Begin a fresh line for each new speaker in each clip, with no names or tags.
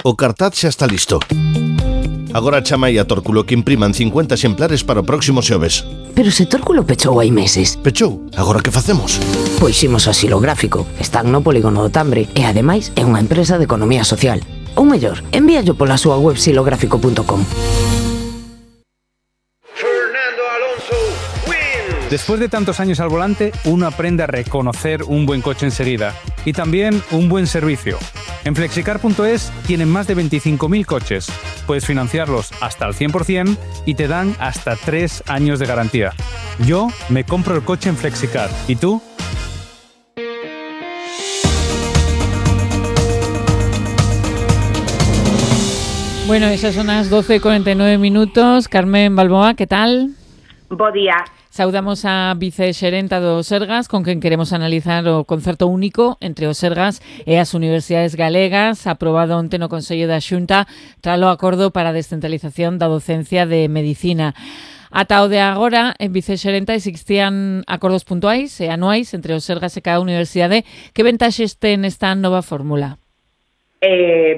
O cartaz xa está listo. Agora chamai a Tórculo que impriman 50 exemplares para o próximo xoves.
Pero se Tórculo pechou hai meses.
Pechou? Agora que facemos?
Pois imos a Xilográfico. Están no polígono do Tambre e ademais é unha empresa de economía social. Ou mellor, envíallo pola súa web xilográfico.com.
Después de tantos años al volante, uno aprende a reconocer un buen coche enseguida y también un buen servicio. En Flexicar.es tienen más de 25.000 coches. Puedes financiarlos hasta al 100% y te dan hasta 3 años de garantía. Yo me compro el coche en Flexicar. ¿Y tú?
Bueno, esas son as 12:49. Carmen Balboa, que tal?
Bo día.
Saudamos a vicexerenta do Sergas, con quen queremos analizar o concerto único entre o Sergas e as universidades galegas, aprobado onte no Consello da Xunta tralo acordo para a descentralización da docencia de medicina. Ata o de agora, en vicexerenta, existían acordos puntuais e anuais entre o Sergas e cada universidade. Que ventaxes ten esta nova fórmula?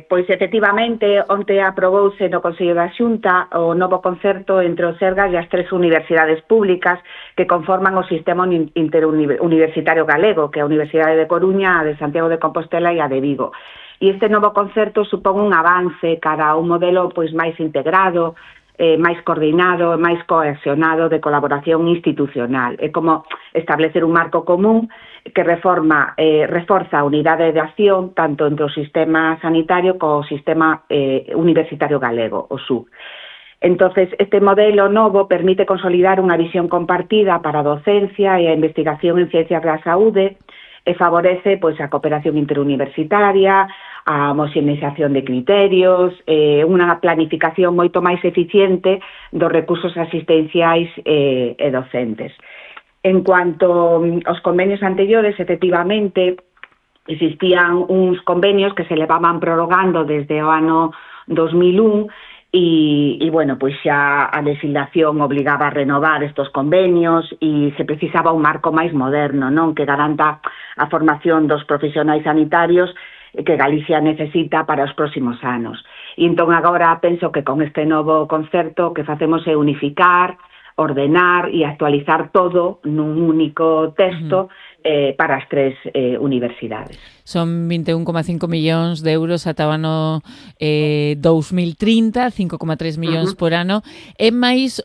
Pois efectivamente, onte aprobouse no Consello da Xunta o novo concerto entre o Sergas e as 3 universidades públicas que conforman o sistema interuniversitario galego, que é a Universidade de Coruña, a de Santiago de Compostela e a de Vigo. E este novo concerto supón un avance cara a un modelo pois máis integrado, máis coordinado e máis cohesionado de colaboración institucional. É como establecer un marco común que reforza a unidade de acción tanto entre o sistema sanitario como o sistema universitario galego, o SUG. Entonces, este modelo novo permite consolidar unha visión compartida para a docencia e a investigación en ciencias da saúde e favorece pois a cooperación interuniversitaria, a homoxeneización de criterios, unha planificación moito máis eficiente dos recursos asistenciais e docentes. En cuanto aos convenios anteriores, efectivamente, existían uns convenios que se levaban prorrogando desde o ano 2001 e bueno, pois xa a legislación obligaba a renovar estos convenios e se precisaba un marco máis moderno, non, que garanta a formación dos profesionais sanitarios que Galicia necesita para os próximos anos. E entón agora penso que con este novo concerto que facemos é unificar, ordenar e actualizar todo nun único texto para as 3 universidades.
Son 21,5 millóns de euros ata o ano 2030, 5,3 millóns por ano. É máis